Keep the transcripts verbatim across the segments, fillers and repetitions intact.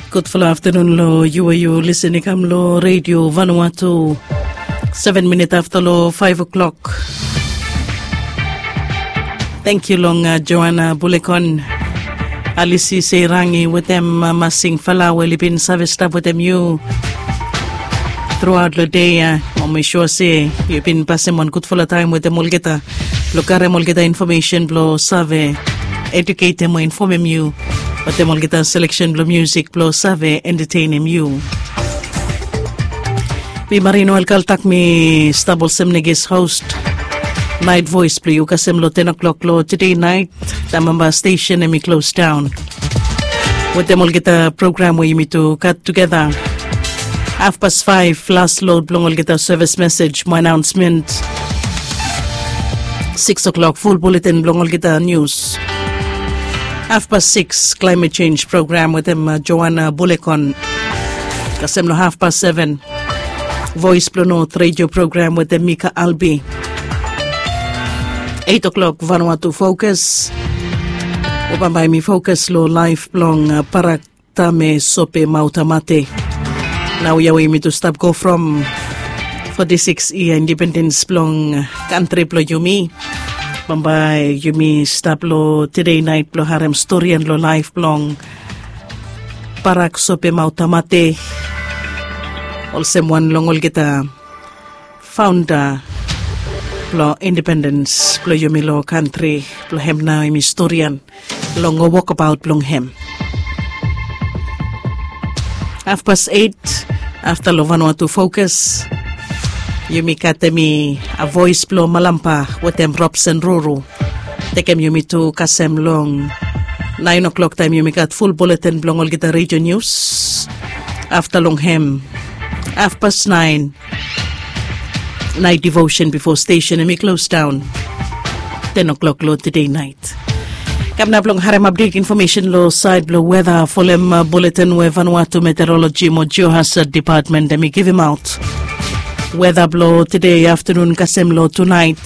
Gudfala aftanun long yu we yu lisin i kam long redio Vanuatu. Seven minit afta long faiv o'klok. Tangkiu long Joana Bulekon, Alisi Seirangi wetem Masing Fala we oli bin save stap wetem yu truaot long dei ya. Mo mi sua se yu bin pasim wan gudfala taem wetem olgeta blong karem olgeta infomesen blong save eduketem o infomem yu wetem olgeta seleksen blong musik blong save entetenem yu. Mi Marino Elkaltak, mi stap olsem neges host Nait Voes blong yu kasem long ten o'klok long tede nait, taem bambae stesen hemi klos daon wetem olgeta program we yumi tu gat tugeta. Hafpas faef las lod blong olgeta sevis mesej mo anaonsmen. Sikis o'klok ful buletin blong olgeta nius. Hafpas sikis klaemet jenj program wetem Joana Bulekon. Kasem long hafpas seven, Voes blong Not redio program wetem Mika Albi. Eit o'klok Vanuatu Fokas. We bambae mi fokas long laef blong Parak Tame Sope Mautamate. Naoia we yumi tu stap go from foti sikis yia independens blong kantri blong yumi. Bambae yumi stap long tede nait blong harem storian long laef blong Parak Sope Mautamate, olsem wan long olgeta faonda blong independens blong yumi long kantri blong hem. Nao hemi storian long wokabaot blong hem. Hafpas eit, afta long Vanuatu Fokas, yumi gat hemi Voes blong Malampa wetem Robson Ruru. Tekem yumi tu kasem long naen o'klok taem yumi gat ful buletin blong olgeta redio nius. Afta long hem, hafpas naen, nait devosen bifo stesen hemi klos daon ten o'klok long tede nait. Kam nao blong harem apdet infomesen long saed blong weta folem buletin we Vanuatu Meteoroloji mo Geohazard Depatmen hemi givimaot. Weta blong tede aftanun kasem long tunaet,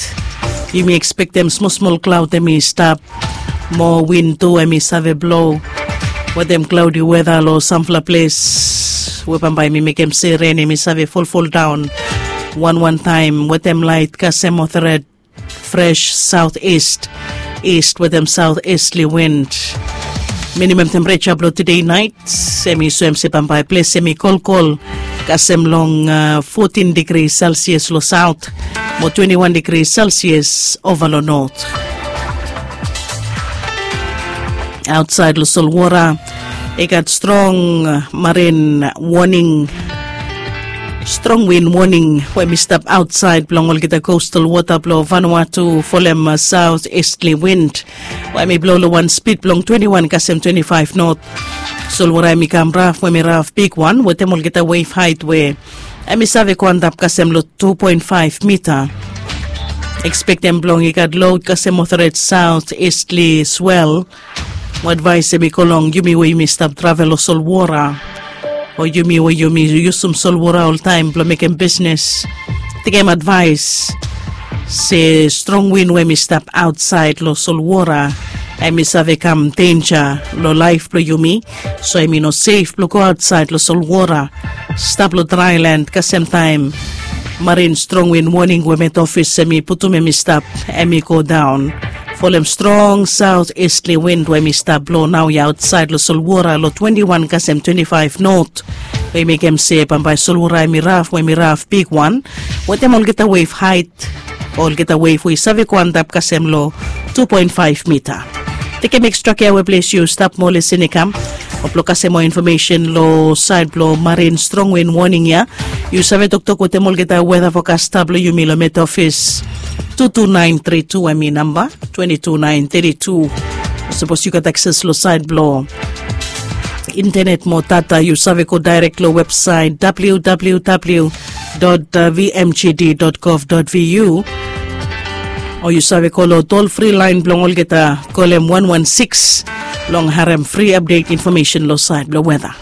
yumi ekspektem smolsmol klaod hemi stap mo win tu hemi save blo wetem klaodi weta long samfala ples we bambae hemi mekem se ren hemi save folfoldaon wanwan taem wetem laet kasem mothered fres saot ist, ist wetem saot istli wind. Minimam tempereja blong tede naet hemi soem se bambae ples hemi kolkol kasem long fotin digri Celsius long saot mo twenti wan digri Celsius ova long not. Aotsaed long solwora i gat strong marin woning, strong win woning we hemi stap aotsaed blong olgeta kostal wota blong Vanuatu folem saot istli wind we hemi blo long wan spid blong twenti wan kasem twenti faef not. Solwora hemi kam raf we hemi raf bigwan wetem olgeta wef haet we hemi save go antap kasem long tu poen faef mita. Ekspektem blong i gat lod kasem mothered saot istli swel. Mo advaes hemi go long yumi we yumi stap travel long solwora o yumi we yumi yusum solwora oltaem blong mekem bisnes, tekem advaes se strong win we hemi stap aotsaed long solwora hemi save kam denja long laef blong yumi. So hemi no sef blong go aotsaed long solwora, stap long draelan kasem taem marin strong win woning we Met Ofis hemi putum hemi stap hemi go daon folem strong saot istli wind we hemi stap blo naoia aotsaed long solwora long twenti wan kasem twenti faef not. We i mekem se bambae solwora hemi raf we hemi raf bigwan wetem olgeta wef haet, olgeta wef we i save go antap kasem long tu poen faef mita. Tekem ekstra kea we ples yu stap mo lisin i kam o blong kasem moa infomesen long saed blong marin strong win woning ya. Yu save toktok wetem olgeta weta fokasta blong yumi long Met Ofis. Tu tu naen tri tu hemi namba, twenti tu naen teti tu. Sapos yu gat akses long saed blong intenet mo data, yu save go daerek long websaet www dot vmgd dot gov dot vu, o yu save go long tol fri laen blong olgeta, kolem wan wan sikis blong harem fri apdet infomesen long saed blong weta.